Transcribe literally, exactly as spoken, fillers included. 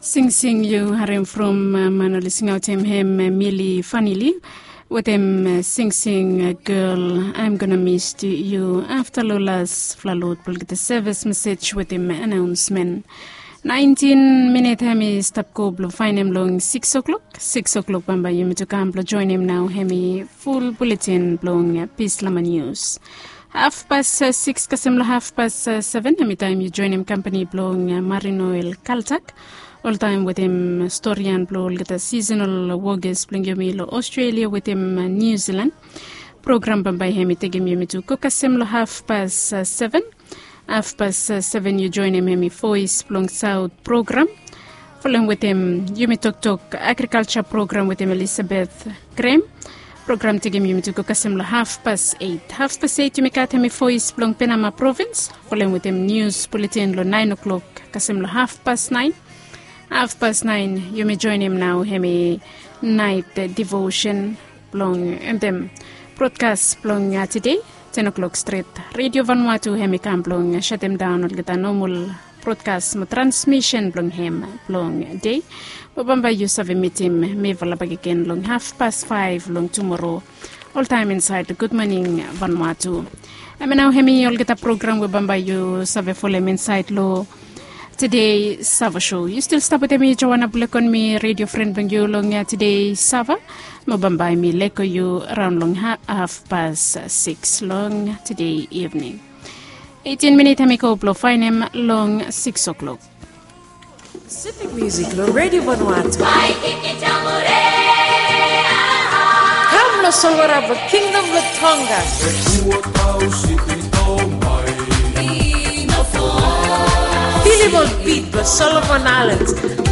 Singsing yu harim from man oli singaotem hem Mili Fanili wetem singsing gel, I'm gonna miss you. Afta long las fala lot blong olgeta sevis mesej wetem anaonsmen. Naentin minit hem i stap go blong faenem long sikis oklok. Sikis oklok bambae yumi tu kam blong joenem nao hem i ful buletin blong Pis Lama Nius. Hafpas sikis kasem long hafpas seven hem i taem yu joenem kampani blong Marinoel Kaltak. Oltaem wetem storian blong olgeta sisenal wokas blong yumi long Australia wetem New Zealand. Program bambae hem i tekem yumi tu go kasem long hafpas seven. Hafpas seven yu joenem hem i Voes blong Saot program. Folem wetem yumi toktok agrikalja program wetem Elisabeth Grem. Program tekem yumi tu go kasem long hafpas eit. Hafpas eit yumi gat hem i Voes blong Penama provins. Folem wetem nius buletin long naen oklok kasem long hafpas naen. Hafpas naen yumi joenem nao hem i naet devosen blong entem brodkas blong tede. Ten oklok stret Redio Vanuatu hem i kam blong satemdaon olgeta nomol brodkas mo transmisen blong hem blong dei. Mo bambae yu save mitim mifala bakegen long hafpas faef long tumoro. Oltaem insaed long Gud Moning Vanuatu. Hem i nao hem i olgeta program we bambae yu save folem insaed long Tede Sava Show. Yu stil stap wetem mi Joana Bulekon, mi redio fren blong yu long Tede Sava. Mo bambae mi lego yu raon long hafpas sikis long tede ivning. Eitin minit hem i go blong faenem long sikis oklok. Pacific Music long Redio Vanuatu. Kam long Solwara blong Kingdom blong Tonga. Filim ol bit blong Solomon Islands.